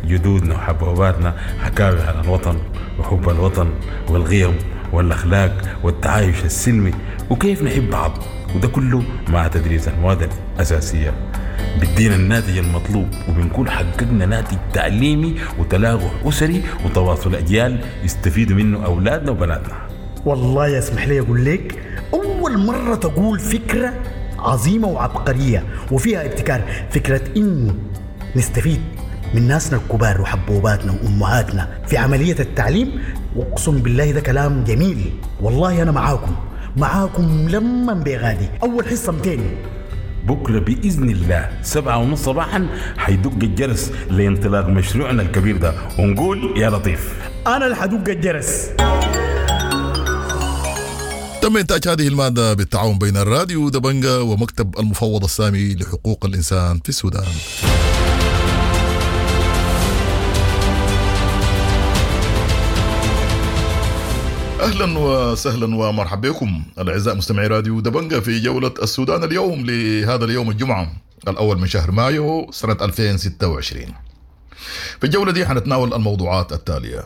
جدودنا وحبوباتنا حكاوي عن الوطن وحب الوطن والقيم والأخلاق والتعايش السلمي وكيف نحب بعض، وده كله مع تدريس المواد الأساسية بيدينا الناتج المطلوب، وبنكون حققنا ناتج تعليمي وتلاقح أسري وتواصل أجيال يستفيدوا منه أولادنا وبناتنا. والله يسمح لي أقول لك، أول مرة تقول فكرة عظيمة وعبقرية وفيها ابتكار، فكرة إنه نستفيد من ناسنا الكبار وحبوباتنا وأمهاتنا في عملية التعليم. وأقسم بالله ده كلام جميل، والله أنا معاكم لما بغادي. أول حصة 200 بكرة بإذن الله 7:30 صباحا حيدق الجرس لانطلاق مشروعنا الكبير ده، ونقول يا لطيف. أنا اللي حدق الجرس. تم إنتاج هذه المادة بالتعاون بين الراديو دبنجا ومكتب المفوض السامي لحقوق الإنسان في السودان. أهلا وسهلا ومرحبا بكم الأعزاء مستمعي راديو دبنجا في جولة السودان اليوم لهذا اليوم الجمعة الأول من شهر مايو سنة 2026. في الجولة دي حنتناول الموضوعات التالية: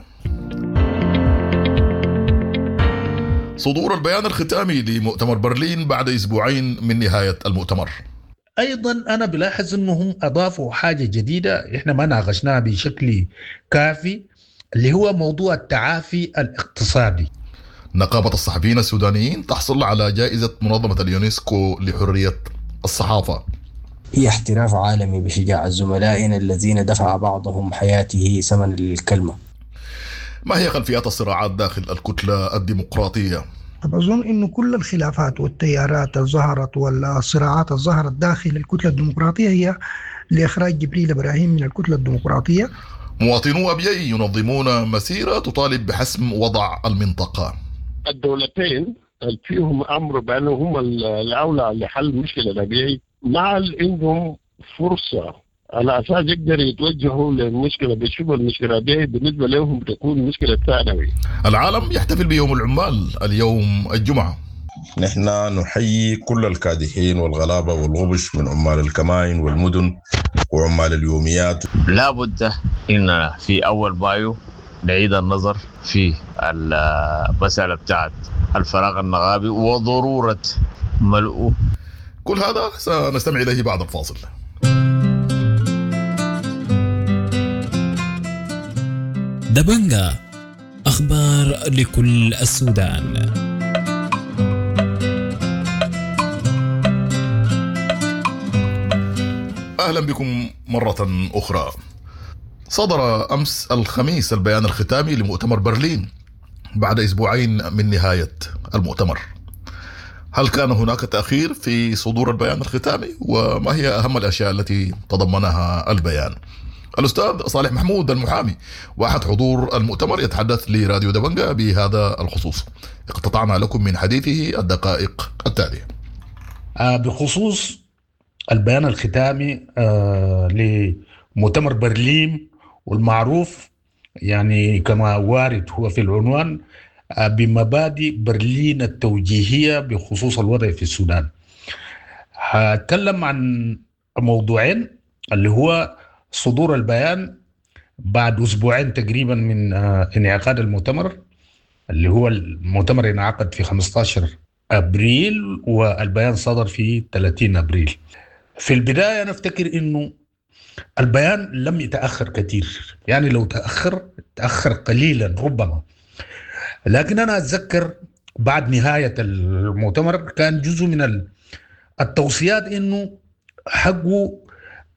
صدور البيان الختامي لمؤتمر برلين بعد أسبوعين من نهاية المؤتمر. أيضا أنا بلاحظ أنهم أضافوا حاجة جديدة إحنا ما ناقشناها بشكل كافي، اللي هو موضوع التعافي الاقتصادي. نقابة الصحفيين السودانيين تحصل على جائزة منظمة اليونسكو لحرية الصحافة. هي احتراف عالمي بشجاعة زملائنا الذين دفع بعضهم حياته ثمن للكلمة. ما هي خلفيات الصراعات داخل الكتلة الديمقراطية؟ أظن أنه كل الخلافات والتيارات الظهرت والصراعات الظهرت داخل الكتلة الديمقراطية هي لإخراج جبريل إبراهيم من الكتلة الديمقراطية. مواطنو أبيي ينظمون مسيرة تطالب بحسم وضع المنطقة. الدولتين فيهم أمر بأنه هم الأولى لحل مشكلة الأبيي، مع عندهم فرصة على أساس يقدروا يتوجهوا للمشكلة، بيشوفوا المشكلة دي بالنسبة لهم بتكون مشكلة ثانوي. العالم يحتفل بيوم العمال اليوم الجمعة. نحن نحيي كل الكادحين والغلابة والغبش من عمال الكمائن والمدن وعمال اليوميات. لابد إن في أول مايو نعيد النظر في المسألة بتاعت الفراغ النغابي وضرورة ملؤه. كل هذا سنستمع إليه بعد الفاصل. دبنجا، أخبار لكل السودان. أهلا بكم مرة أخرى. صدر أمس الخميس البيان الختامي لمؤتمر برلين بعد أسبوعين من نهاية المؤتمر. هل كان هناك تأخير في صدور البيان الختامي؟ وما هي أهم الأشياء التي تضمنها البيان؟ الأستاذ صالح محمود المحامي وأحد حضور المؤتمر يتحدث لراديو دبنجا بهذا الخصوص. اقتطعنا لكم من حديثه الدقائق التالية. بخصوص البيان الختامي لمؤتمر برلين والمعروف يعني كما وارد هو في العنوان بمبادئ برلين التوجيهية بخصوص الوضع في السودان. هتكلم عن موضوعين، اللي هو صدور البيان بعد أسبوعين تقريبا من انعقاد المؤتمر، اللي هو المؤتمر انعقد في 15 أبريل والبيان صدر في 30 أبريل. في البداية أنا أفتكر أنه البيان لم يتأخر كثير، يعني لو تأخر تأخر قليلا ربما، لكن أنا أتذكر بعد نهاية المؤتمر كان جزء من التوصيات أنه حقه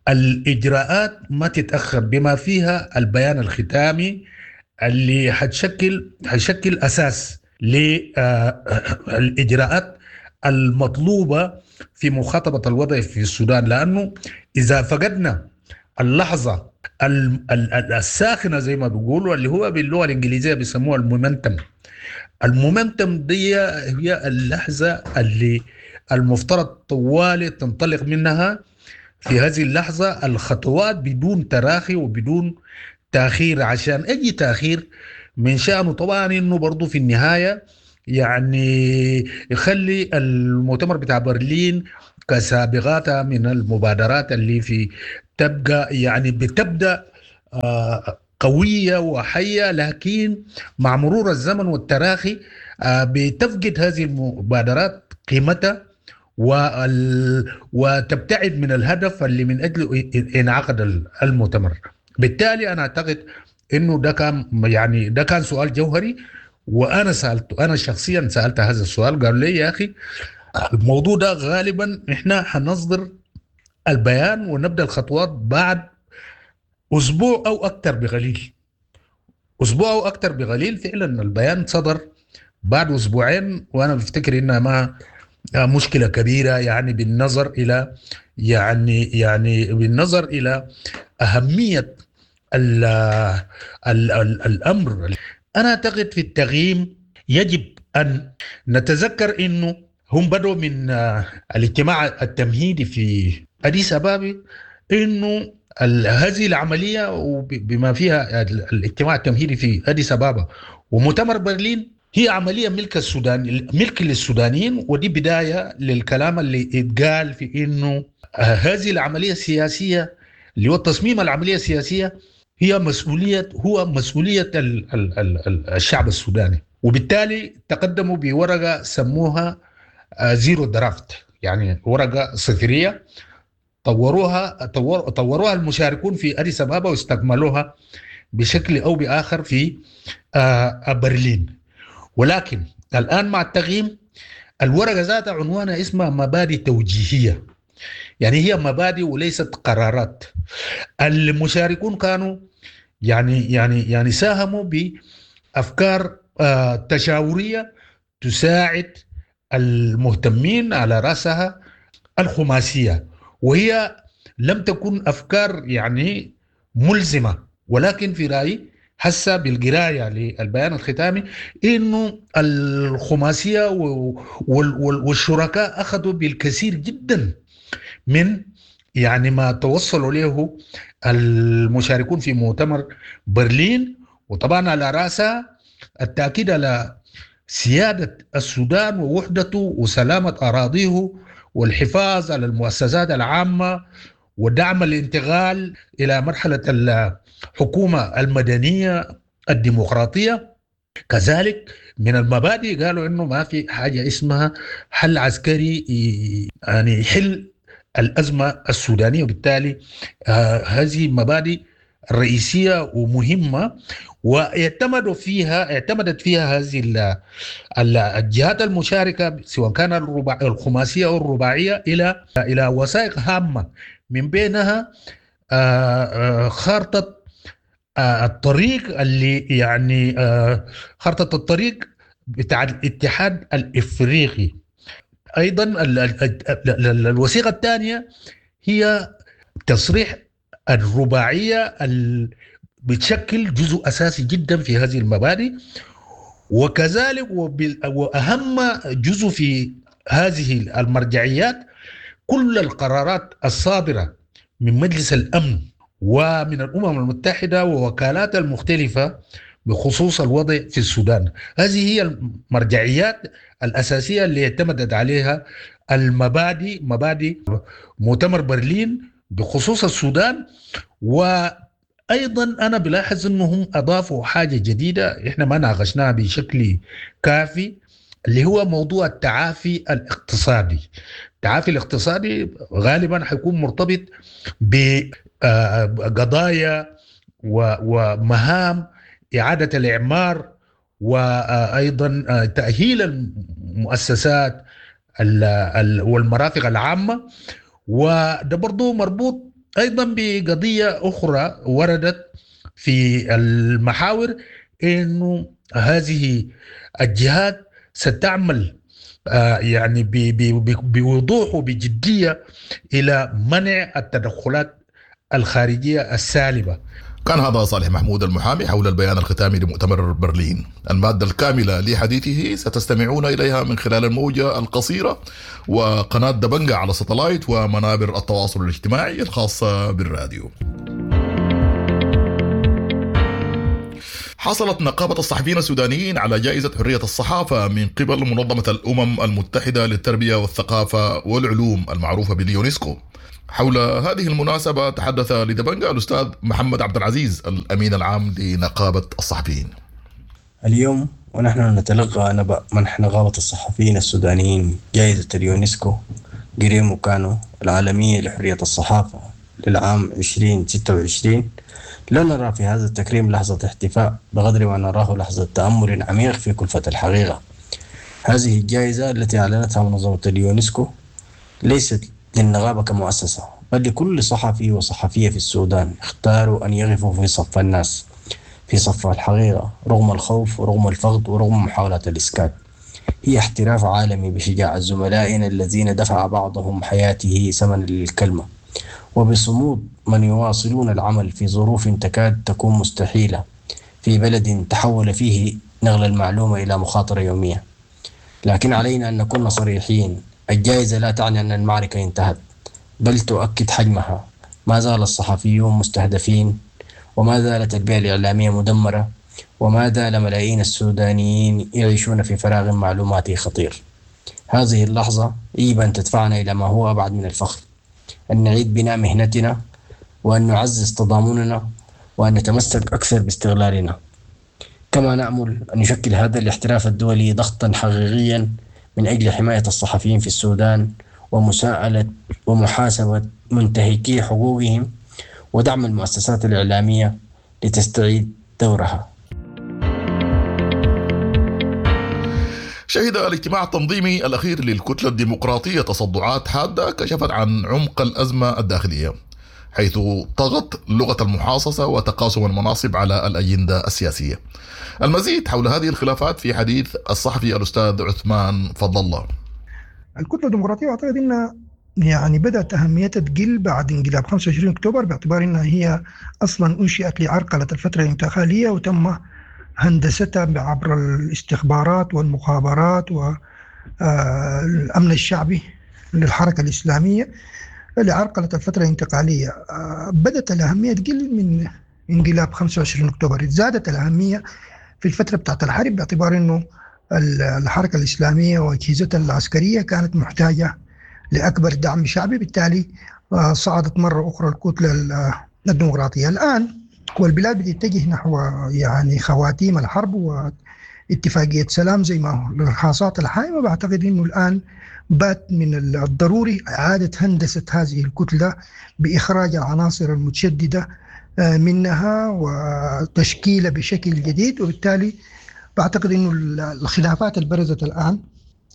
الإجراءات ما تتأخر، بما فيها البيان الختامي اللي حيشكل أساس للإجراءات المطلوبة في مخاطبة الوضع في السودان، لأنه إذا فقدنا اللحظة الساخنة زي ما بيقولوا، اللي هو باللغة الإنجليزية بيسموها ال momentum. ال momentum دي هي اللحظة اللي المفترض طوالي تنطلق منها في هذه اللحظة الخطوات بدون تراخي وبدون تأخير، عشان أي تأخير من شأنه طبعا إنه برضو في النهاية يعني يخلي المؤتمر بتاع برلين كسابقاتها من المبادرات اللي في تبقى يعني بتبدأ قوية وحية، لكن مع مرور الزمن والتراخي بتفقد هذه المبادرات قيمتها وتبتعد من الهدف اللي من أجله انعقد المؤتمر. بالتالي أنا أعتقد إنه ده كان يعني ده كان سؤال جوهري، وأنا سألته، أنا شخصيا سألت هذا السؤال، قالوا لي يا أخي الموضوع ده غالبا إحنا حنصدر البيان ونبدأ الخطوات بعد أسبوع أو أكثر بقليل، أسبوع أو أكثر بقليل. فعلا البيان صدر بعد أسبوعين، وأنا بفتكر إنها ما مشكلة كبيرة، يعني بالنظر إلى يعني بالنظر إلى أهمية ال ال ال الأمر. أنا أعتقد في التغييم يجب أن نتذكر إنه هم بدأوا من الاجتماع التمهيدي في أديس أبابا، إنه هذه العملية وبما فيها الاجتماع التمهيدي في أديس أبابا ومؤتمر برلين هي عملية ملك السودان، ملك للسودانيين. ودي بداية للكلام اللي اتقال في إنه هذه العملية السياسية اللي هو تصميم العملية السياسية هي مسؤولية، هو مسؤولية ال ال ال الشعب السوداني. وبالتالي تقدموا بورقة سموها zero draft، يعني ورقة صفرية طوروها المشاركون في أديس أبابا واستكملوها بشكل أو بآخر في برلين. ولكن الآن مع التغييم الورقة ذاتها عنوانها اسمها مبادئ توجيهية، يعني هي مبادئ وليست قرارات. المشاركون كانوا يعني ساهموا بأفكار تشاورية تساعد المهتمين، على رأسها الخماسية، وهي لم تكن أفكار يعني ملزمة، ولكن في رأيي حسب بالقراية للبيان الختامي إنه الخماسية والشركاء أخذوا بالكثير جدا من يعني ما توصلوا له المشاركون في مؤتمر برلين، وطبعا على رأسها التأكيد على سيادة السودان ووحدته وسلامة أراضيه والحفاظ على المؤسسات العامة ودعم الانتقال إلى مرحلة الحكومة المدنية الديمقراطية. كذلك من المبادئ قالوا إنه ما في حاجة اسمها حل عسكري يعني يحل الأزمة السودانية، وبالتالي هذه مبادئ رئيسية ومهمة، واعتمدت فيها هذه الجهات المشاركة سواء كان الخماسية أو الرباعية إلى وثائق هامة، من بينها خارطة الطريق اللي يعني خارطة الطريق بتاع الاتحاد الإفريقي. أيضا الوثيقة الثانية هي تصريح الرباعية بتشكل جزء أساسي جدا في هذه المبادئ، وكذلك وأهم جزء في هذه المرجعيات كل القرارات الصادرة من مجلس الأمن ومن الأمم المتحدة ووكالات المختلفة بخصوص الوضع في السودان. هذه هي المرجعيات الأساسية اللي اعتمدت عليها المبادئ، مبادئ مؤتمر برلين بخصوص السودان. وأيضا أنا بلاحظ أنهم أضافوا حاجة جديدة إحنا ما ناقشناها بشكل كافي، اللي هو موضوع التعافي الاقتصادي. التعافي الاقتصادي غالبا حيكون مرتبط بقضايا ومهام إعادة الإعمار، وأيضا تأهيل المؤسسات والمرافق العامة. وده برضو مربوط أيضا بقضية أخرى وردت في المحاور، إنه هذه الجهات ستعمل يعني بوضوح وبجدية إلى منع التدخلات الخارجية السالبة. كان هذا صالح محمود المحامي حول البيان الختامي لمؤتمر برلين. المادة الكاملة لحديثه ستستمعون إليها من خلال الموجة القصيرة وقناة دبنجة على ستلايت ومنابر التواصل الاجتماعي الخاصة بالراديو. حصلت نقابة الصحفيين السودانيين على جائزة حرية الصحافة من قبل منظمة الأمم المتحدة للتربية والثقافة والعلوم المعروفة باليونسكو. حول هذه المناسبة تحدث لدبنجا الأستاذ محمد عبد العزيز الأمين العام لنقابة الصحفيين. اليوم ونحن نتلقى نبأ منح نقابة الصحفيين السودانيين جائزة اليونسكو جريمو كانو العالمية لحرية الصحافة للعام 2026، لا نرى في هذا التكريم لحظة احتفاء بقدر ما نراه لحظة تأمل عميق في كلفة الحقيقة. هذه الجائزة التي أعلنتها منظمة اليونسكو ليست للنقابة كمؤسسة، بل لكل صحفي وصحفية في السودان اختاروا أن يقفوا في صف الناس، في صف الحقيقة، رغم الخوف ورغم الفقد ورغم محاولات الإسكات. هي احتراف عالمي بشجاعة زملائنا الذين دفع بعضهم حياته ثمنا للكلمة، وبصمود من يواصلون العمل في ظروف تكاد تكون مستحيلة في بلد تحول فيه نقل المعلومة إلى مخاطرة يومية. لكن علينا أن نكون صريحين، الجائزة لا تعني أن المعركة انتهت، بل تؤكد حجمها. ما زال الصحفيون مستهدفين، وما زالت البيئة الإعلامية مدمرة، وما زال ملايين السودانيين يعيشون في فراغ معلوماتي خطير. هذه اللحظة يجب أن تدفعنا إلى ما هو أبعد من الفخر، أن نعيد بناء مهنتنا، وأن نعزز تضامننا، وأن نتمسك أكثر باستغلالنا. كما نأمل أن يشكل هذا الاحتراف الدولي ضغطا حقيقيا من أجل حماية الصحفيين في السودان ومساءلة ومحاسبة منتهكي حقوقهم ودعم المؤسسات الإعلامية لتستعيد دورها. شهد الاجتماع التنظيمي الأخير للكتلة الديمقراطية تصدعات حادة كشفت عن عمق الأزمة الداخلية، حيث طغت لغة المحاصصة وتقاسم المناصب على الأجندة السياسية. المزيد حول هذه الخلافات في حديث الصحفي الأستاذ عثمان فضل الله. الكتلة الديمقراطية أعتقد أنها يعني بدأت أهميتها تقل بعد انقلاب 25 أكتوبر، باعتبار أنها هي أصلا أنشئت لعرقلة الفترة الانتقالية وتم هندستها عبر الاستخبارات والمخابرات والأمن الشعبي للحركة الإسلامية لعرقلة الفترة الانتقالية. بدأت الأهمية تقل من انقلاب 25 أكتوبر، زادت الأهمية في الفترة بتاعت الحرب باعتبار أنه الحركة الإسلامية وأجهزتها العسكرية كانت محتاجة لأكبر دعم شعبي، بالتالي صعدت مرة أخرى الكتلة الديمقراطية. الآن والبلاد بتتجه نحو يعني خواتيم الحرب واتفاقية سلام زي ما هو الرخاصات الحائمة. بعتقد أنه الآن بات من الضروري إعادة هندسة هذه الكتلة بإخراج العناصر المتشددة منها وتشكيلها بشكل جديد، وبالتالي بعتقد أنه الخلافات البرزت الآن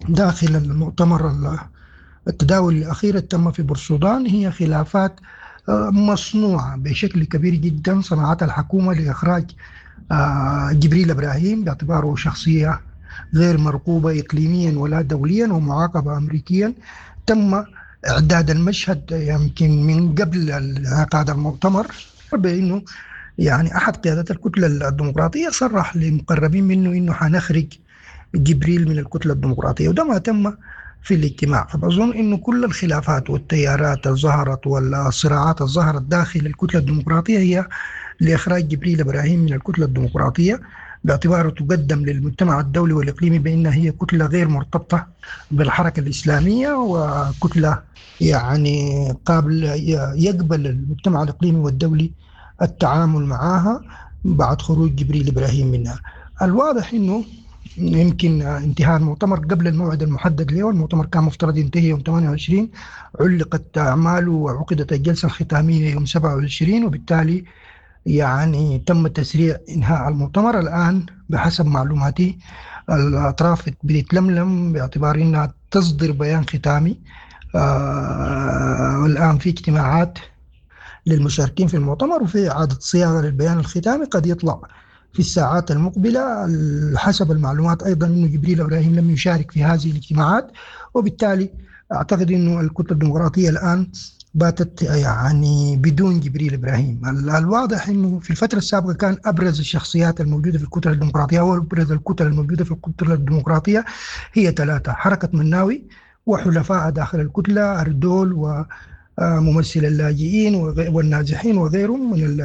داخل المؤتمر التداول الأخير تم في بورسودان هي خلافات مصنوعة بشكل كبير جدا صنعتها الحكومة لإخراج جبريل إبراهيم باعتباره شخصية غير مرغوبة إقليميا ولا دوليا ومعاقبة أمريكيا. تم إعداد المشهد يمكن من قبل انعقاد المؤتمر بأنه يعني أحد قيادات الكتلة الديمقراطية صرح لمقربين منه أنه حنخرج جبريل من الكتلة الديمقراطية، وده ما تم في الاجتماع. فبظن أنه كل الخلافات والتيارات الظهرت والصراعات الظهرت داخل الكتلة الديمقراطية هي لإخراج جبريل إبراهيم من الكتلة الديمقراطية باعتباره تقدم للمجتمع الدولي والإقليمي بأنها هي كتلة غير مرتبطة بالحركة الإسلامية وكتلة يعني قابل يقبل المجتمع الإقليمي والدولي التعامل معها بعد خروج جبريل إبراهيم منها. الواضح أنه يمكن انتهاء المؤتمر قبل الموعد المحدد له، المؤتمر كان مفترض ينتهي يوم 28، علقت أعماله وعقدت الجلسة الختامية يوم 27، وبالتالي يعني تم تسريع إنهاء المؤتمر. الآن بحسب معلوماتي الأطراف بتتلملم باعتبار أنها تصدر بيان ختامي. والآن في اجتماعات للمشاركين في المؤتمر وفي إعادة صياغة للبيان الختامي قد يطلع في الساعات المقبلة. حسب المعلومات أيضا أنه جبريل إبراهيم لم يشارك في هذه الاجتماعات، وبالتالي أعتقد أنه الكتلة الديمقراطية الآن باتت يعني بدون جبريل إبراهيم. الواضح أنه في الفترة السابقة كان أبرز الشخصيات الموجودة في الكتلة الديمقراطية وأبرز الكتل الموجودة في الكتلة الديمقراطية هي ثلاثة: حركة مناوي وحلفاء داخل الكتلة أردول وممثل اللاجئين والنازحين وغيرهم من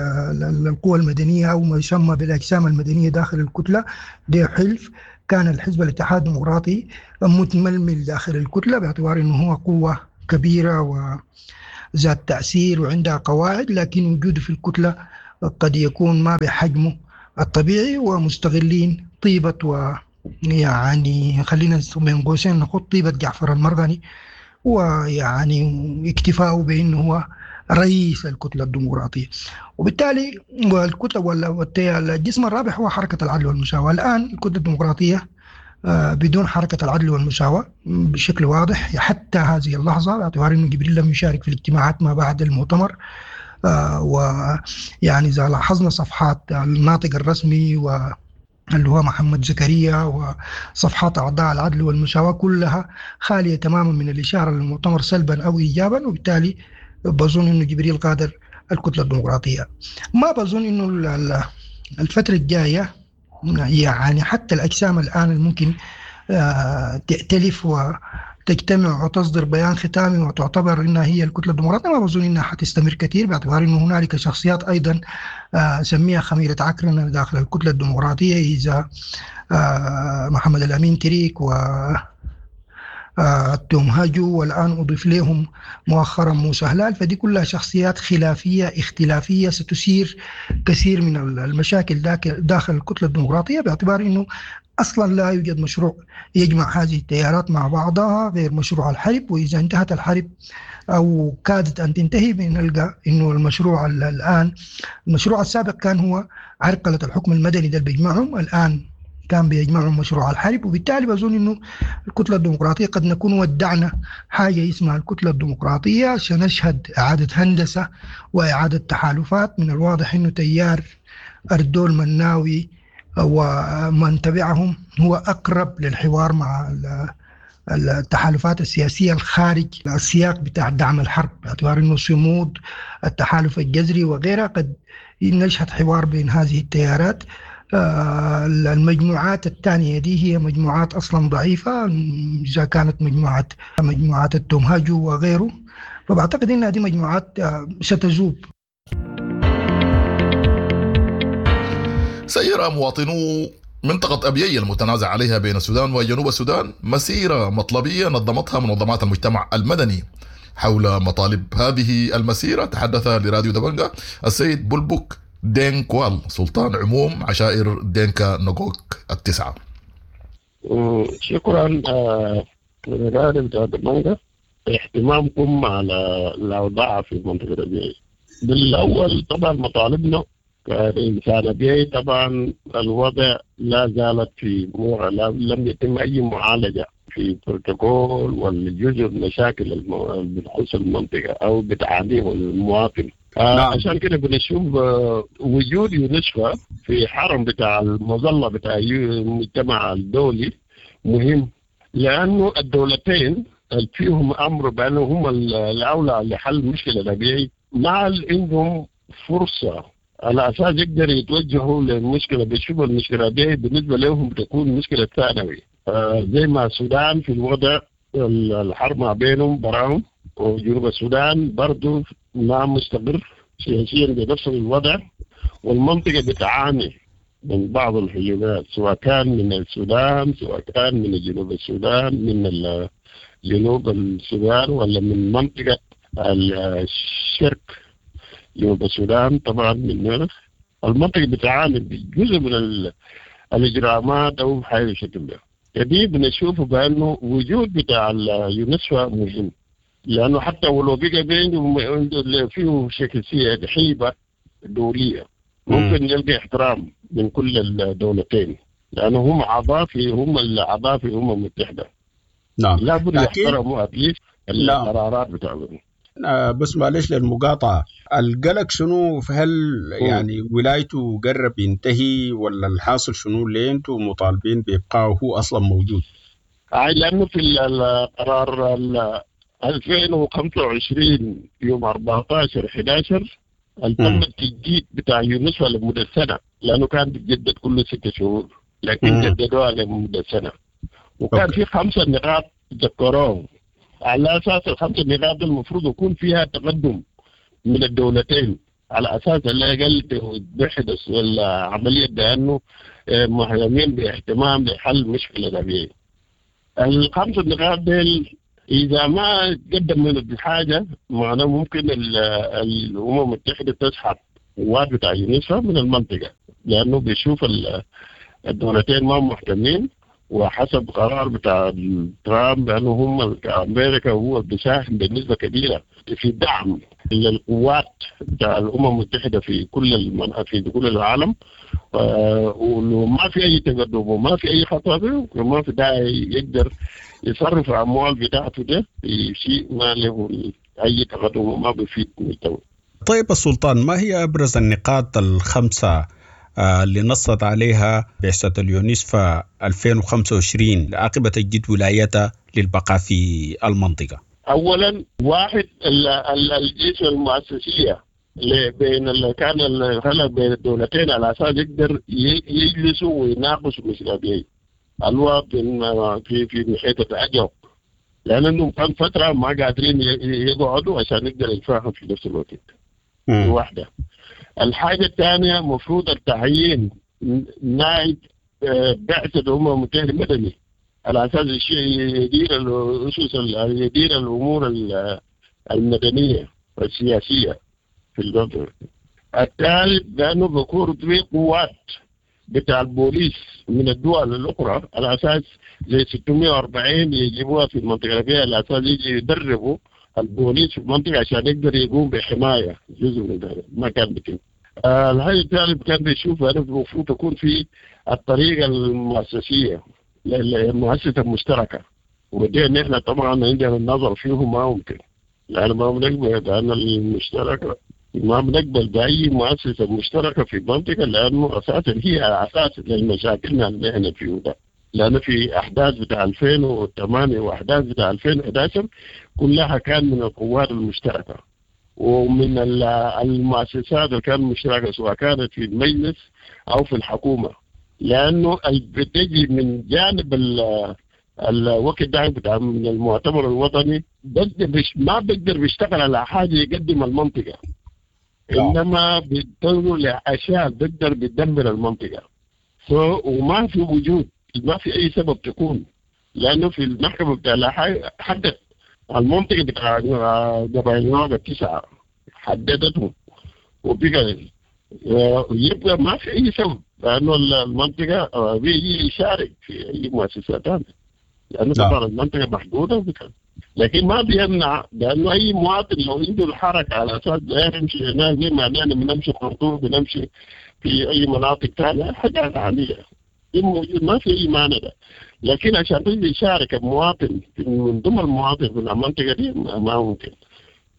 القوى المدنية أو ما يسمى بالأجسام المدنية داخل الكتلة، دي حلف. كان الحزب الاتحاد الديمقراطي متململ داخل الكتلة باعتبار أنه هو قوة كبيرة ذات تأثير وعندها قواعد، لكن وجوده في الكتلة قد يكون ما بحجمه الطبيعي، ومستغلين طيبة و يعني خلينا بين قوسين نخط طيبة جعفر المرغني، ويعني اكتفاؤه بأنه هو رئيس الكتلة الديمقراطية. وبالتالي والكتلة والجسم الرابع هو حركة العدل والمساواة. الآن الكتلة الديمقراطية بدون حركة العدل والمساواة بشكل واضح حتى هذه اللحظة، باعتبار أنه جبريل لم يشارك في الاجتماعات ما بعد المؤتمر. ويعني إذا لاحظنا صفحات الناطق الرسمي اللي هو محمد زكريا وصفحات أعضاء العدل والمساواة كلها خالية تماما من الإشارة للمؤتمر سلبا أو إيجابا، وبالتالي بظن أنه جبريل قادر الكتلة الديمقراطية. ما بظن أنه الفترة الجاية يعني حتى الأجسام الآن الممكن تأتلف وتجتمع وتصدر بيان ختامي وتعتبر أنها هي الكتلة الديمقراطية، ما بظن أنها حتستمر كثير، باعتبار أنه هنالك شخصيات أيضا سميها خميرة عكرنة داخل الكتلة الديمقراطية، إذا محمد الأمين تريك و التوم هاجو، والآن أضيف لهم مؤخرا موسى هلال. فدي كلها شخصيات خلافية اختلافية ستثير كثير من المشاكل داخل الكتلة الديمقراطية، باعتبار أنه أصلا لا يوجد مشروع يجمع هذه التيارات مع بعضها غير مشروع الحرب، وإذا انتهت الحرب أو كادت أن تنتهي بنلقى أنه المشروع الآن، المشروع السابق كان هو عرقلة الحكم المدني ده اللي بيجمعهم، الآن كان بيجمعهم مشروع الحرب. وبالتالي بظن أنه الكتلة الديمقراطية قد نكون ودعنا حاجة اسمها الكتلة الديمقراطية، سنشهد إعادة هندسة وإعادة تحالفات. من الواضح أنه تيار أردول مناوي ومن تبعهم هو أقرب للحوار مع التحالفات السياسية الخارج السياق بتاع دعم الحرب، باعتبار أنه صمود التحالف الجذري وغيرها قد نشهد حوار بين هذه التيارات. المجموعات الثانية دي هي مجموعات أصلا ضعيفة، إذا كانت مجموعات التومهاجو وغيره، فبعتقد أنها دي مجموعات ستذوب. سير مواطنو منطقة أبيي المتنازع عليها بين السودان وجنوب السودان مسيرة مطلبية نظمتها منظمات المجتمع المدني. حول مطالب هذه المسيرة تحدث لراديو دبنجا السيد بلبك دين كوال، سلطان عموم عشائر دينكا نغوك التسعة. شكرا لراديو دبنجا اهتمامكم على الأوضاع في منطقة أبيي. بالأول طبعا مطالبنا كإنسان أبيي، طبعا الوضع لا زالت في لم يتم أي معالجة في بروتوكول والجزء من المشاكل اللي بتخص المنطقة أو بتعانيه المواطن. نعم. عشان كده بنشوف وجود يونسكو في حرم بتاع المظلة بتاع المجتمع الدولي مهم، لأنه الدولتين فيهم أمر بأنه هم الأولى لحل مشكلة الأبيعي، مع عندهم فرصة على أساس يقدر يتوجهوا للمشكلة. بيشوفوا المشكلة دي بالنسبة لهم بتكون مشكلة ثانوي، زي ما السودان في الوضع الحرب ما بينهم براهم، وجنوب السودان برضو ما مستقر سياسيا بنفس الوضع، والمنطقة بتعاني من بعض الهجمات سواء كان من السودان سواء كان من جنوب السودان من جنوب السودان ولا من منطقة الشرق جنوب السودان. طبعا من المنطقة بتعاني بجزء من الإجرامات أو بحاجة بالشكل ده. دي بنشوفه بأنه وجود بتاع اليونسكو مهم، لأنه حتى ولو بقى بينه فيه شكل حيبة دولية ممكن يلقى احترام من كل الدولتين، لأنه هم أعضاء في هم الأعضاء في الأمم المتحدة. نعم، لابد يحترموا أتليست القرارات بتاعتهم. بس معلش للمقاطعة، القلق شنو؟ هل يعني ولايته قرب ينتهي ولا الحاصل شنو؟ ليه انتم مطالبين بإبقائه هو أصلا موجود؟ لأنه في القرار 2025 يوم 14/11 تم التجديد بتاع يونسكو لمدة سنة، لأنه كان بيتجدد كل 6 شهور، لكن جددوها لمدة سنة، وكان في 5 نقاط ذكروهم. على أساس ال5 نقاط المفروض يكون فيها تقدم من الدولتين، على أساس على الأقل تحدث العملية بأنه مهتمين باهتمام لحل مشكلة الأبيعي. ال5 نقاط ديل اذا ما تقدم من بحاجة معناه ممكن الامم المتحدة تسحب قوات بتاع يونسفا من المنطقة، لانه بيشوف الدولتين ما مهتمين، وحسب قرار بتاع ترامب بانه هم امريكا هو بيساهم بنسبة كبيرة في دعم للقوات بتاع الامم المتحدة في كل العالم، وما في اي تقدم وما في اي خطوة، وما في داعي يقدر يصرف الاموال بتاعته ده في شيء ما له اي تقدم وما بيفيد الدولة. طيب السلطان، ما هي ابرز النقاط الخمسة اللي نصت عليها بعثة اليونسفا 2025 عقب تجديد ولايتها للبقاء في المنطقة؟ أولا واحد الجيش المؤسسية بين اللي كان الخلل بين الدولتين على أساس يقدر يجلسوا ويناقشوا مشكلة دي الوضع في محيط العجب، لأنهم كان فترة ما قادرين يقعدوا عشان يقدر يتفاهموا في نفس الوقت. واحدة. الحاجة الثانية مفروض التعيين نائب بعثة الأمم المتحدة المدني على أساس يدير الأسس، يدير الأمور المدنية والسياسية في البلد. الثالث لأنه بيكون في قوات بتاع البوليس من الدول الأخرى على أساس زي 640 يجيبوها في المنطقة فيها على أساس يجي يدربوا البوليس في المنطقة عشان يقدر يقوم بحماية جزء من ذلك ما كان بيتم. الحاجة الثالث كان بيشوف أنه المفروض تكون في الطريقة المؤسسية المؤسسة المشتركة، ودي نحن طبعا عندنا النظر فيه ما ممكن، لأن ما بنقبل لأن المشتركة ما بنقبل بأي مؤسسة مشتركة في المنطقة، لأنه أساسا هي أساس للمشاكل اللي احنا فيه ده. لأنه في أحداث بتاع 2008 وأحداث بتاع 2011 كلها كان من القوات المشتركة ومن المؤسسات اللي كانت مشتركة سواء كانت في المجلس أو في الحكومة، لأنه بتجي من جانب الوقت ده بتاع من المؤتمر الوطني ما بيقدر بيشتغل على حاجة يقدم المنطقة، إنما بتنظر لأشياء بتقدر بتدمر المنطقة. وما في وجود، ما في أي سبب تكون، لأنه في المحكمة بتاع حدد المنطقة بتاع قبائل النوبة 9 حددته وبقى يبقى ما في أي سبب، لأنه المنطقة بيجي يشارك في أي مؤسسة ثانية، لأنه طبعا المنطقة محدودة وبكذا، لكن ما بيمنع لأنه أي مواطن لو عنده الحركة على أساس لا يمشي هناك زي ما نحن بنمشي خرطوم بنمشي في أي مناطق ثانية حاجات عادية موجود، ما في أي مانع ده. لكن عشان تيجي يشارك المواطن من ضمن المواطن في المنطقة دي ما ممكن،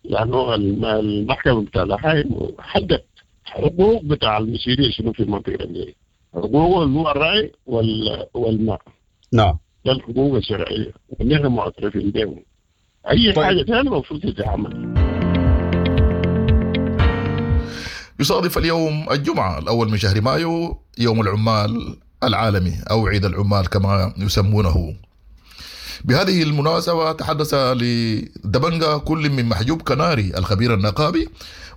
لأنه المحكمة بتاع الحي حدد حقوق بتاع المسيرية شنو في المنطقة دي، حقوق اللي هو الرأي والماء. نعم، ده الحقوق الشرعية ونحن معترفين بهم. أي طيب. حاجة ثانية المفروض تتعمل. يصادف اليوم الجمعة الأول من شهر مايو يوم العمال العالمي أو عيد العمال كما يسمونه. بهذه المناسبة تحدث لدبنجا كل من محجوب كناري الخبير النقابي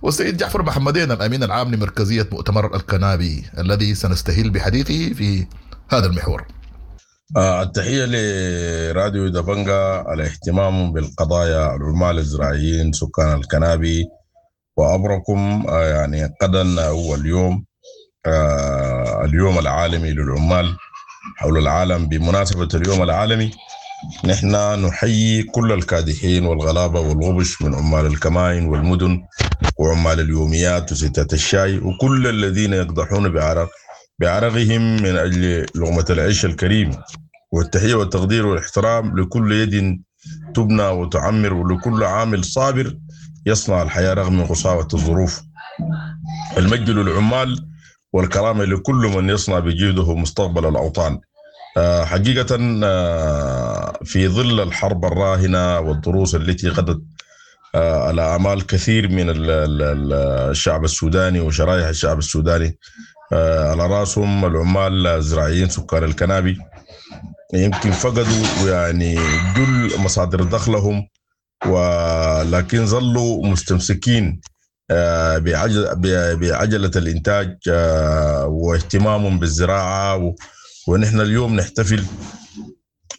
والسيد جعفر محمدين الأمين العام لمركزية مؤتمر الكنابي الذي سنستهل بحديثه في هذا المحور. التحية لراديو دبنجا على اهتمامهم بالقضايا العمال الزراعيين سكان الكنابي، وأبركم يعني غدا هو اليوم اليوم العالمي للعمال حول العالم. بمناسبة اليوم العالمي نحن نحيي كل الكادحين والغلابة والغبش من عمال الكمائن والمدن وعمال اليوميات وستات الشاي وكل الذين يقدحون بعرقهم من أجل لقمة العيش الكريم، والتحية والتقدير والاحترام لكل يد تبنى وتعمر ولكل عامل صابر يصنع الحياة رغم قساوة الظروف. المجد للعمال والكرامة لكل من يصنع بجهده مستقبل الأوطان. حقيقة في ظل الحرب الراهنة والدروس التي غدت على أعمال كثير من الشعب السوداني وشرائح الشعب السوداني، على رأسهم العمال الزراعيين سكان الكنابي، يمكن فقدوا يعني جل مصادر دخلهم، ولكن ظلوا مستمسكين بعجلة الإنتاج واهتمامهم بالزراعة. ونحن اليوم نحتفل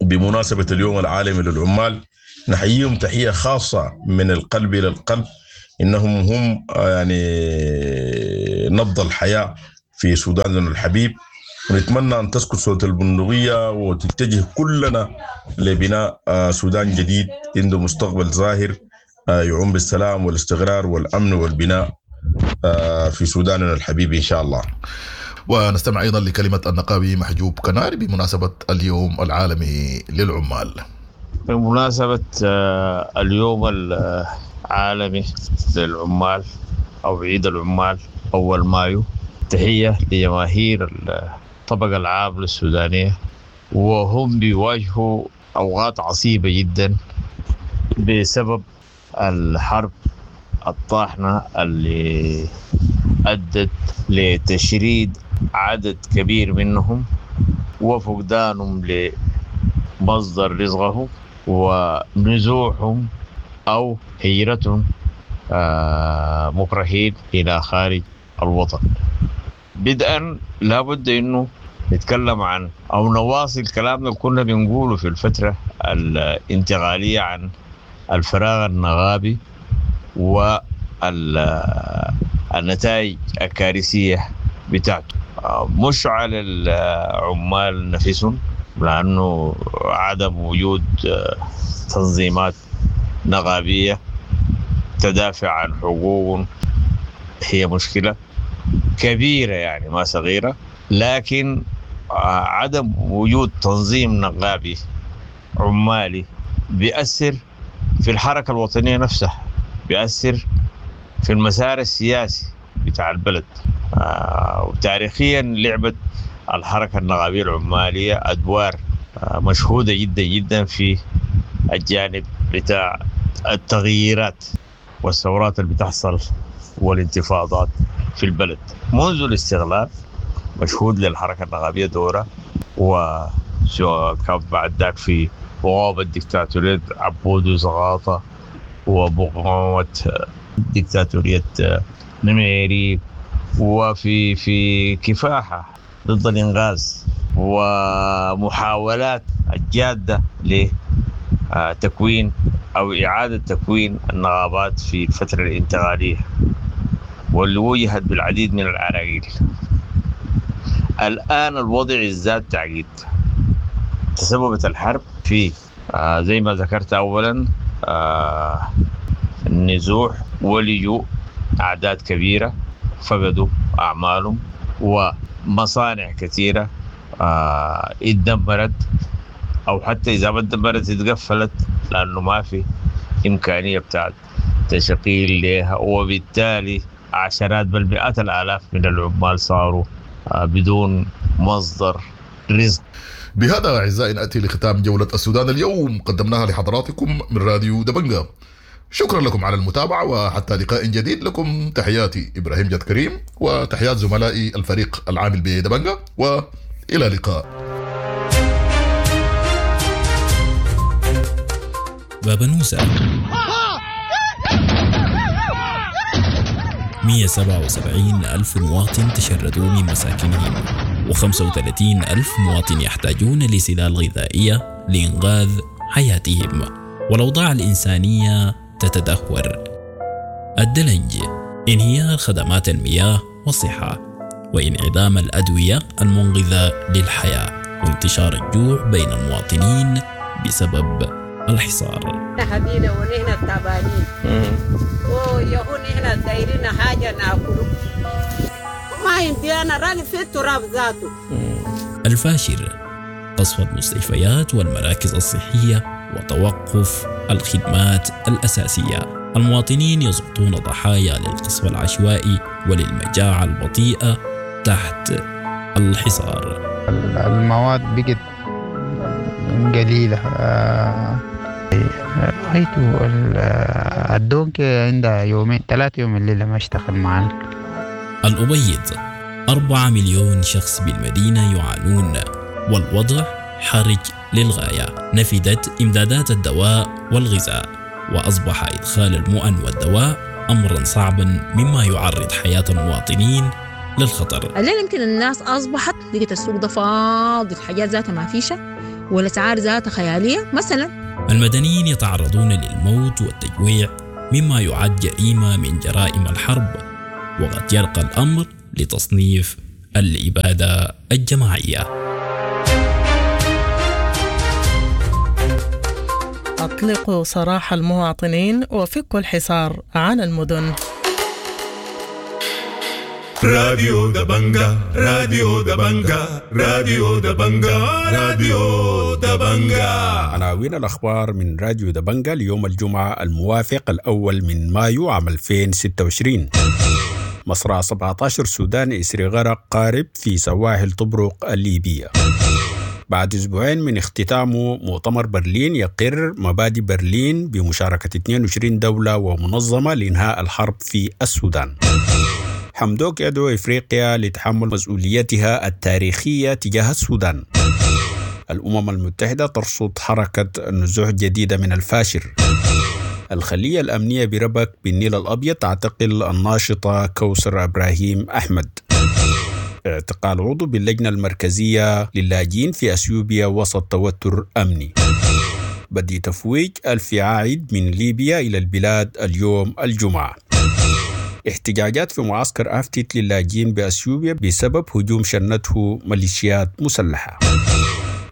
بمناسبة اليوم العالمي للعمال نحييهم تحية خاصة من القلب إلى القلب، إنهم هم يعني نبض الحياة في سوداننا الحبيب. ونتمنى أن تسكت صوت البندقية وتتجه كلنا لبناء سودان جديد عنده مستقبل زاهر يعم بالسلام والاستقرار والأمن والبناء في سوداننا الحبيب إن شاء الله. ونستمع أيضا لكلمة النقابي محجوب كناري بمناسبة اليوم العالمي للعمال. بمناسبة اليوم العالمي للعمال أو عيد العمال أول مايو، تحية لجماهير الطبقة العاملة السودانية وهم بيواجهوا أوقات عصيبة جدا بسبب الحرب الطاحنة اللي أدت لتشريد عدد كبير منهم وفقدانهم لمصدر رزقهم ونزوحهم أو هجرتهم مكرهين إلى خارج الوطن. بدءا لابد أنه نتكلم عن أو نواصل كلامنا اللي كنا بنقوله في الفترة الانتقالية عن الفراغ النغابي والنتائج الكارثية بتاعته، مش على العمال نفسهم، لأنه عدم وجود تنظيمات نغابية تدافع عن حقوقهم هي مشكلة كبيرة، يعني ما صغيرة، لكن عدم وجود تنظيم نقابي عمالي بيأثر في الحركة الوطنية نفسها، بيأثر في المسار السياسي بتاع البلد. وتاريخيا لعبت الحركة النقابية العمالية أدوار مشهودة جدا جدا في الجانب بتاع التغييرات والثورات اللي بتحصل والانتفاضات في البلد منذ الاستغلال. مشهود للحركة النقابية دورة، وسواء كان بعد ذاك في مقاومة ديكتاتورية عبود وزغاطة ومقاومة ديكتاتورية نميري، وفي في كفاحة ضد الإنغاز ومحاولات الجادة لتكوين أو إعادة تكوين النقابات في الفترة الانتقالية واللي وجهت بالعديد من العراقيل. الآن الوضع ازداد تعقيد. تسببت الحرب في زي ما ذكرت أولا النزوح ولجوء أعداد كبيرة فقدوا أعمالهم، ومصانع كثيرة اتدمرت أو حتى إذا ما اتدمرت اتقفلت لأنه ما في إمكانية بتاعت تشغيل لها، وبالتالي عشرات بل مئات الآلاف من العمال صاروا بدون مصدر رزق. بهذا أعزائي نأتي لختام جولة السودان اليوم قدمناها لحضراتكم من راديو دبنجا. شكرا لكم على المتابعة، وحتى لقاء جديد لكم تحياتي إبراهيم جد كريم وتحيات زملائي الفريق العامل بدبنجا، وإلى اللقاء. بابنوسة 177 ألف مواطن تشردوا من مساكنهم، و35 ألف مواطن يحتاجون لسلال غذائية لإنقاذ حياتهم، والأوضاع الإنسانية تتدهور. الدلنج، انهيار خدمات المياه والصحة، وانعدام الأدوية المنقذة للحياة، وانتشار الجوع بين المواطنين بسبب الحصار. حبينا ونحن تعبانين ويهون نحن دايرين حاجة ناكله ما عندي أنا راني في التراب ذاته. الفاشر، قصف المستشفيات والمراكز الصحية وتوقف الخدمات الأساسية. المواطنين يسقطون ضحايا للقصف العشوائي وللمجاعة البطيئة تحت الحصار. المواد بقت قليلة. رأيته الدونكي عندها يومين 3 يوم الليلة ما اشتغل معنا. الأبيض، 4 مليون شخص بالمدينة يعانون والوضع حرج للغاية. نفدت إمدادات الدواء والغذاء، وأصبح إدخال المؤن والدواء أمرا صعبا مما يعرض حياة المواطنين للخطر. الليلة يمكن الناس أصبحت لقيت السوق ده فاضي، الحاجات ذاتها ما فيشة والأسعار ذاتها خيالية مثلا. المدنيين يتعرضون للموت والتجويع، مما يعد جريمة من جرائم الحرب، وقد يرقى الأمر لتصنيف الإبادة الجماعية. أطلقوا سراح المواطنين وفكوا الحصار عن المدن. راديو دبنجا، راديو دبنجا، راديو دبنجا، راديو دبنجا. عناوين الأخبار من راديو دبنجا ليوم الجمعة الموافق الأول من مايو عام 2026. مصرع 17 سوداني إثر غرق قارب في سواحل طبرق الليبية. بعد أسبوعين من اختتامه مؤتمر برلين يقر مبادئ برلين بمشاركة 22 دولة ومنظمة لإنهاء الحرب في السودان. حمدوك يدعو إفريقيا لتحمل مسؤوليتها التاريخية تجاه السودان. الأمم المتحدة ترصد حركة نزوح جديدة من الفاشر. الخلية الأمنية بربك بالنيل الأبيض تعتقل الناشطة كوثر إبراهيم أحمد. اعتقال عضو باللجنة المركزية للاجئين في أثيوبيا وسط توتر أمني. بدء تفويج 1000 عائد من ليبيا إلى البلاد اليوم الجمعة. احتجاجات في معسكر أفتت للاجئين بأثيوبيا بسبب هجوم شنته ميليشيات مسلحة.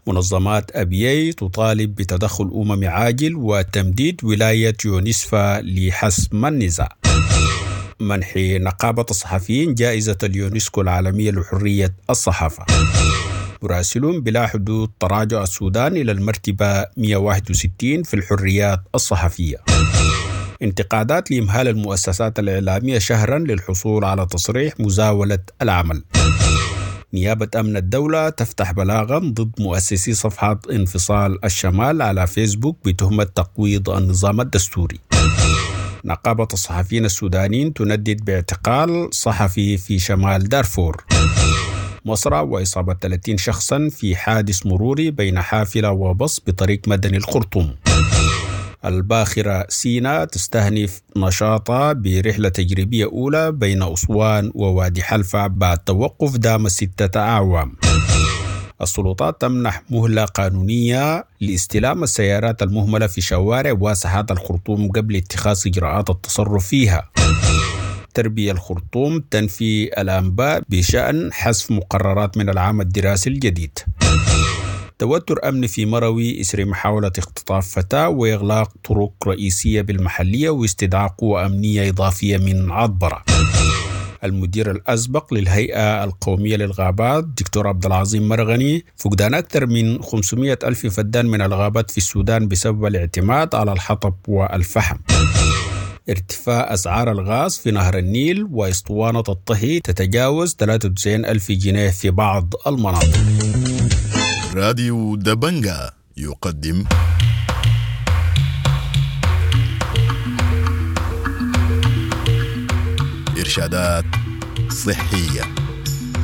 منظمات أبيي تطالب بتدخل أممي عاجل وتمديد ولاية يونسفا لحسم النزاع. منح نقابة الصحفيين جائزة اليونسكو العالمية لحرية الصحافة. مراسلون بلا حدود تراجع السودان إلى المرتبة 161 في الحريات الصحفية. انتقادات لإمهال المؤسسات الإعلامية شهرا للحصول على تصريح مزاولة العمل. نيابة أمن الدولة تفتح بلاغا ضد مؤسسي صفحة انفصال الشمال على فيسبوك بتهمة تقويض النظام الدستوري. نقابة الصحفيين السودانيين تندد باعتقال صحفي في شمال دارفور. مصر وإصابة 30 شخصا في حادث مروري بين حافلة وبص بطريق مدني الخرطوم. الباخرة سينا تستهنف نشاطها برحلة تجريبية أولى بين أسوان ووادي حلفة بعد توقف دام 6 أعوام. السلطات تمنح مهلة قانونية لاستلام السيارات المهملة في شوارع وساحات الخرطوم قبل اتخاذ إجراءات التصرف فيها. تربية الخرطوم تنفي الأنباء بشأن حذف مقررات من العام الدراسي الجديد. توتر أمني في مروي إثر محاولة اختطاف فتاة وإغلاق طرق رئيسية بالمحلية واستدعاء قوة أمنية إضافية من عطبرة. المدير الأسبق للهيئة القومية للغابات دكتور عبد العظيم مرغني فقدان أكثر من 500 ألف فدان من الغابات في السودان بسبب الاعتماد على الحطب والفحم. ارتفاع أسعار الغاز في نهر النيل وإسطوانة الطهي تتجاوز 93 ألف جنيه في بعض المناطق. راديو دبنجا يقدم إرشادات صحية.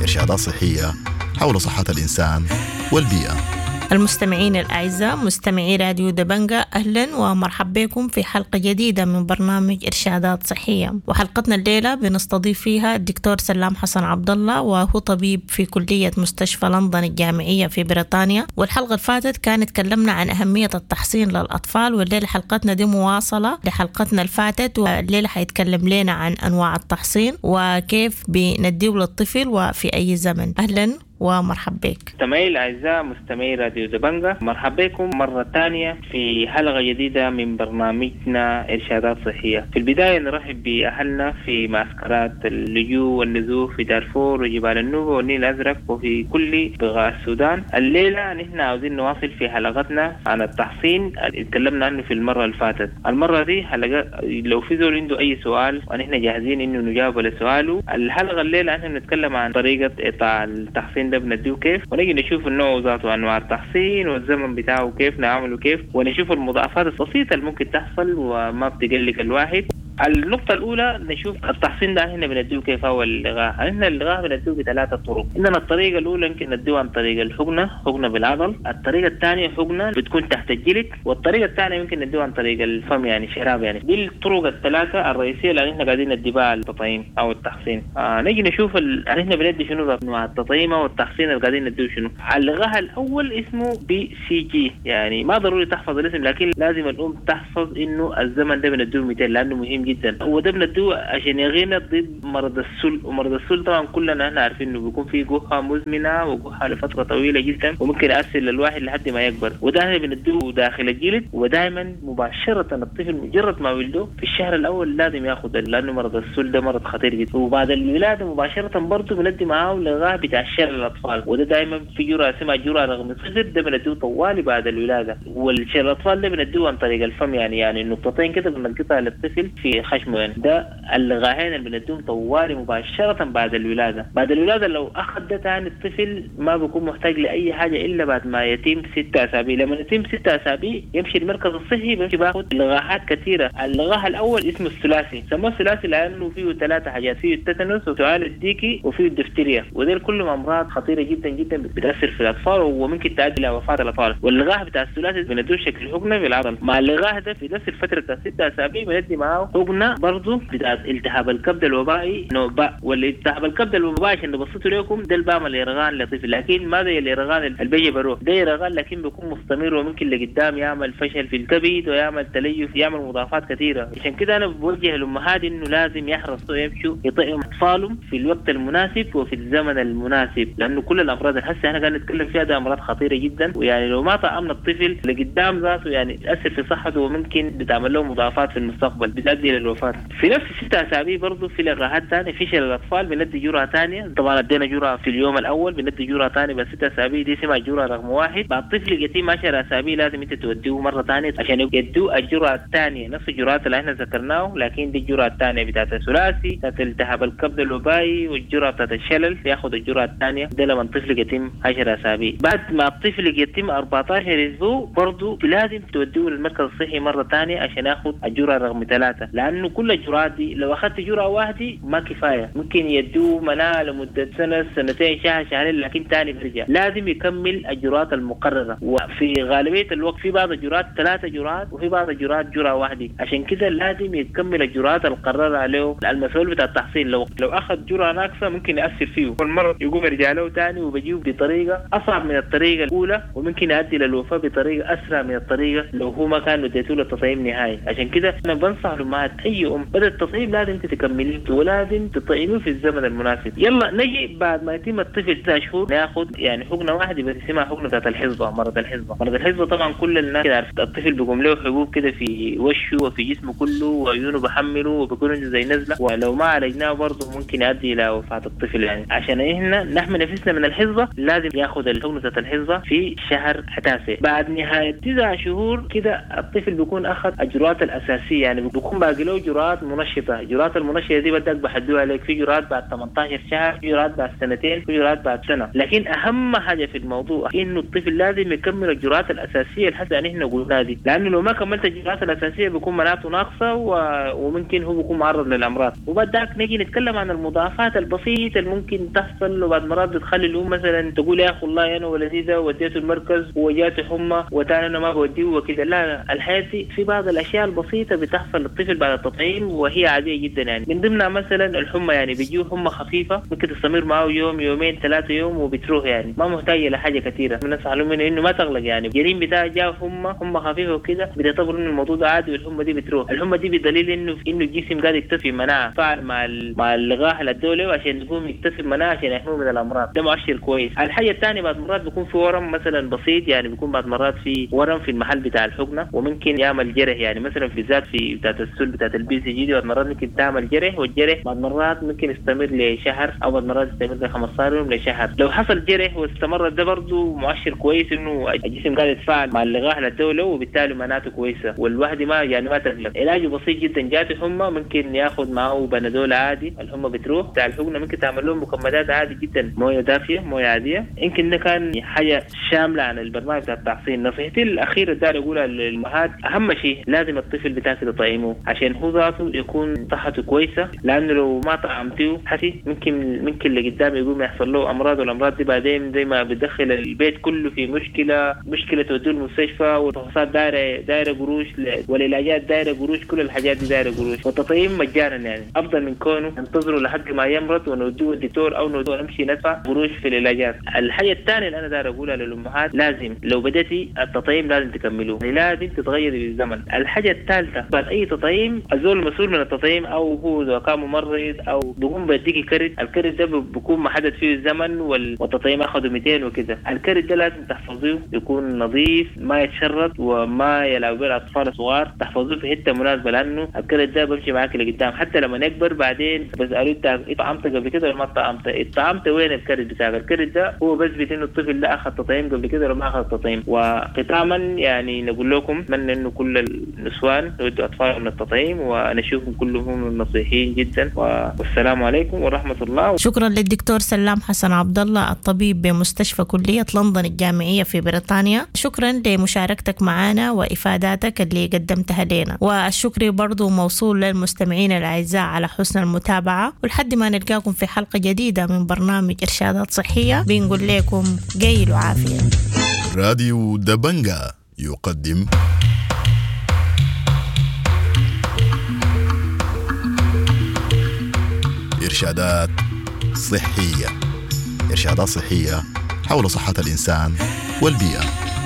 إرشادات صحية حول صحة الإنسان والبيئة. المستمعين الأعزاء مستمعي راديو دبنجا، أهلا ومرحبا بكم في حلقة جديدة من برنامج إرشادات صحية. وحلقتنا الليلة بنستضيف فيها الدكتور سلام حسن عبد الله، وهو طبيب في كلية مستشفى لندن الجامعية في بريطانيا. والحلقة اللي فاتت كانت تكلمنا عن أهمية التحصين للأطفال، والليلة حلقتنا دي مواصلة لحلقتنا اللي فاتت، والليلة حيتكلم لنا عن أنواع التحصين وكيف بنديه للطفل وفي أي زمن. أهلا ومرحبا بك. مستمعي الأعزاء مستمعي راديو دبنجا، مرحبا بكم مرة ثانية في حلقة جديدة من برنامجنا إرشادات صحية. في البداية نرحب بأهلنا في معسكرات اللجوء والنزوح في دارفور وجبال النوبة والنيل الأزرق وفي كل بقاع السودان. الليلة نحن عاوزين نواصل في حلقتنا عن التحصين اللي تكلمنا عنه في المرة اللي فاتت. المرة دي حلقة لو في زول عنده أي سؤال ونحن جاهزين إنه نجاوب على سؤاله. الحلقة الليلة نحن بنتكلم عن طريقة إعطاء التحصين ده بنديه كيف، ونجي نشوف النوع ذاته، انواع التحصين والزمن بتاعه كيف نعمله كيف، ونشوف المضاعفات البسيطه اللي ممكن تحصل وما بتقلق الواحد. النقطة الأولى نشوف التحصين ده احنا بنديه كيف هو اللقاح. احنا اللقاح بنديه بثلاثة طرق. عندنا الطريقة الأولى يمكن نديه عن طريق الحقنة، حقنة بالعضل. الطريقة الثانية حقنة بتكون تحت الجلد، والطريقة الثانية يمكن نديه عن طريق الفم يعني شراب يعني. دي الطرق الثلاثة الرئيسية اللي احنا قاعدين ندي بها التطعيم أو التحصين. نجي نشوف احنا بندي شنو انواع التطعيم او التحصين اللي قاعدين نديه شنو. اللقاح الأول اسمه BCG، يعني ما ضروري تحفظ الاسم لكن لازم الأم تحفظ إنه الزمن ده بنديه 200 لأنه مهم جدا. وده بنديه عشان يغينا ضد مرض السل، ومرض السل طبعا كلنا احنا عارفين انه بيكون فيه جحة مزمنة وجحة لفترة طويلة جدا وممكن يأثر للواحد لحد ما يكبر. وده احنا بنديه داخل الجلد، ودائما مباشرة الطفل مجرد ما ولده في الشهر الأول لازم ياخذ، لأنه مرض السل ده مرض خطير جدا. وبعد الولادة مباشرة برضه بندي معاه لقاح بتاع شلل الأطفال، وده دائما في جرعة اسمها جرعة رقم 0، ده بنديه طوالي بعد الولادة. والشلل الأطفال ده بنديه عن طريق الفم، يعني نقطتين كده بنلقطها للطفل في خشمه يعني. ده اللقاحين اللي بنديهم طوالي مباشرة بعد الولادة. بعد الولادة لو أخذ ده تاني الطفل ما بيكون محتاج لأي حاجة إلا بعد ما يتم 6 أسابيع. لما يتم 6 أسابيع يمشي المركز الصحي بيمشي باخذ لقاحات كثيرة. اللقاح الأول اسمه الثلاثي، سموه الثلاثي لأنه فيه 3 حاجات، فيه التتنس وسعال الديكي وفيه الدفتيريا، وديل كلهم أمراض خطيرة جدا جدا بتأثر في الأطفال وممكن تؤدي إلى وفاة الأطفال. واللقاح بتاع الثلاثي بندوه شكل حقنة بالعضل. مع اللقاح ده في نفس الفترة بتاع 6 أسابيع بندي معاه حقنة برضه بتاع التهاب الكبد الوبائي نوع باء. والالتهاب الكبد الوبائي عشان نبسطه لكم ده البام الإرغان لطفل، لكن ما زي الإرغان اللي بيجي بروح، ده إرغان لكن بيكون مستمر وممكن لقدام يعمل فشل في الكبد ويعمل تليف، يعمل مضاعفات كثيرة. عشان كده أنا بوجه الأمهات إنه لازم يحرصوا يمشوا يطعموا أطفالهم في الوقت المناسب وفي الزمن المناسب، لأنه كل الأمراض اللي هسه احنا قاعدين نتكلم فيها ده أمراض خطيرة جدا، ويعني لو ما طعمنا الطفل لقدام ذاته يعني تأثر في صحته وممكن بتعمل له مضاعفات في المستقبل بتؤدي للوفاة. في نفس 6 أسابيع برضه في لقاحات ثانية في شلل الأطفال بندي جرعة ثانية، طبعا ادينا جرعة في اليوم الأول بندي جرعة ثانية بس 6 أسابيع دي اسمها جرعة رقم 1. بعد الطفل يتم 10 أسابيع لازم أنت توديه مرة ثانية عشان يدوه الجرعة الثانية، نفس الجرعات اللي احنا ذكرناه لكن دي الجرعة الثانية بتاعت الثلاثي بتاعت التهاب الكبد الوبائي والجرعة بتاعت الشلل، ياخذ الجرعة الثانية ده لما الطفل يتم 10 أسابيع. بعد ما الطفل يتم 14 أسبوع برضه لازم توديه للمركز الصحي مرة ثانية عشان ياخذ الجرعة رقم 3، لأنه كل الجرعات دي لو أخذت جرعة واحدة ما كفاية، ممكن يدوه مناعة لمدة سنة سنتين شهر شهرين لكن ثاني بيرجع. لازم يكمل الجرعات المقررة، وفي غالبية الوقت في بعض الجرعات 3 جرعات وفي بعض الجرعات جرعة واحدة، عشان كده لازم يكمل الجرعات المقررة عليه المسؤول بتاع التحصين. لو أخذ جرعة ناقصة ممكن يأثر فيه والمرض يقوم يرجع له ثاني وبيجيه بطريقة أصعب من الطريقة الأولى، وممكن يؤدي للوفاة بطريقة أسرع من الطريقة لو هو ما كان اديته له التطعيم نهائي. عشان كده أنا بنصح الأمهات أي أم بدأ التطعيم لازم تكمليه ولازم تطعميه في الزمن المناسب. يلا نجي بعد ما يتم الطفل 9 شهور ناخذ يعني حقنة واحدة بس اسمها حقنة بتاعت الحصبة، مرض الحصبة. مرض الحصبة طبعا كل الناس كده عارف، الطفل بيقوم له حبوب كده في وشه وفي جسمه كله وعيونه بحمله وبيكون عنده زي نزلة، ولو ما عالجناه برضه ممكن يؤدي إلى وفاة الطفل. يعني عشان احنا نحمي نفسنا من الحصبة لازم ياخذ الحقنة بتاعت الحصبة في شهر 9. بعد نهاية 9 شهور كده الطفل بيكون أخذ الجرعات الأساسية، يعني بيكون باقي له جرعات منشطة. الجرعات المنشطة دي بدك بحدوها عليك، في جرعات بعد 18 شهر، في جرعات بعد سنتين، في جرعات بعد سنة. لكن أهم حاجة في الموضوع إنه الطفل لازم يكمل الجرعات الأساسية اللي حتى نحن قلناها دي، لأنه لو ما كملت الجرعات الأساسية بيكون مناعته ناقصة وممكن هو بيكون معرض للأمراض. وبعد ذاك نيجي نتكلم عن المضاعفات البسيطة اللي ممكن تحصل، وبعد مرات بتخلي الأم مثلا تقول يا أخي والله أنا ولدي ده وديته المركز وجاته حمى وتاني أنا ما بوديه وكده. لا، الحياة دي في بعض الأشياء البسيطة بتحصل للطفل بعد التطعيم وهي عادية جدا. يعني من ضمنها مثلا الحمى، يعني بيجيه حمى خفيفة ممكن تستمر معه يوم يومين 3 يوم وبتروح، يعني ما محتاجة لحاجة كثيرة. بنصح لهم إنه ما تغلق، يعني الجنين بتاعه جاء حمى خفيفة وكده بتعتبر إنه الموضوع ده عادي والحمى دي بتروح. الحمى دي بدليل إنه الجسم قاعد يكتسب مناعة فعل مع اللقاح اللي ادوه عشان يقوم يكتسب مناعة عشان يحميه من الأمراض، ده مؤشر كويس. الحاجة الثانية بعد مرات بيكون في ورم مثلا بسيط، يعني بيكون بعد مرات في ورم في المحل بتاع الحقنة وممكن يعمل جرح، يعني مثلا في ذات في بتاعت السل بتاعت ال BCG دي بعد مرات ممكن تعمل جرح، والجرح بعد مرات ممكن يستمر لشهر او بعد مرات يستمر ل 15 يوم لشهر. لو حصل جرح واستمر ده برضه مؤشر كويس انه الجسم قاعد يتفاعل مع اللقاح للدولة وبالتالي مناعته كويسة والواحد ما يعني ما تقلق. علاجه بسيط جدا، جاته حمى ممكن ياخذ معه بنادول عادي الحمى بتروح. بتاع الحقنة ممكن تعمل لهم مكمدات عادي جدا، مويه دافيه مويه عادية. يمكن ده كان حاجة شاملة عن البرنامج بتاع التحصين. نصيحتي الاخيرة داير اقولها للامهات، اهم شيء لازم الطفل بتاعك تطعمه عشان عشان هو ذاته يكون صحته كويسة، لانه لو ما طعمتيه حسي ممكن لقدام يقوم يحصل له امراض، والامراض دي بعدين زي ما بتدخل البيت كله في مشكلة توديه المستشفى، والفحوصات دايرة قروش، والعلاجات دايرة قروش، كل الحاجات دي دايرة قروش. والتطعيم مجانا يعني افضل من كونه ننتظره لحد ما يمرض ونوديه الدكتور او نوديه نمشي ندفع قروش في العلاجات. الحاجة الثانية اللي انا داير اقولها للامهات، لازم لو بدأتي التطعيم لازم تكملوه، يعني لازم تتغيري بالزمن. الحاجة الثالثة، بعد اي تطعيم الزول المسؤول من التطعيم او هو اذا كان ممرض او بيقوم بيديكي كرت، الكرت ده بيكون محدد فيه الزمن والتطعيم اخذه 200 وكده. الكرت ده لازم تحفظيه، يكون نظيف، ما يتشرط وما يلعب به الاطفال الصغار، تحفظوه في حتة مناسبة، لانه الكرت ده بمشي معاك لقدام حتى لما يكبر. بعدين بسألوه انت اتطعمت قبل كده ولا ما اتطعمت؟ اتطعمت وين الكرت بتاعك؟ الكرت ده هو بثبت انه الطفل ده اخذ تطعيم قبل كده ولا ما اخذ تطعيم. وختاما يعني نقول لكم اتمنى انه كل النسوان يودوا اطفالهم للتطعيم، ونشوفهم كلهم نصيحين جدا. والسلام عليكم ورحمة الله. شكرا للدكتور سلام حسن عبد الله الطبيب بمستشفى كلية لندن الجامعية في بريطانيا، شكرا لمشاركتك معنا وإفاداتك اللي قدمتها لنا، والشكر برضو موصول للمستمعين الأعزاء على حسن المتابعة. ولحد ما نلقاكم في حلقة جديدة من برنامج إرشادات صحية، بنقول لكم قيل وعافية. راديو دبنجا يقدم إرشادات صحية. إرشادات صحية حول صحة الإنسان والبيئة.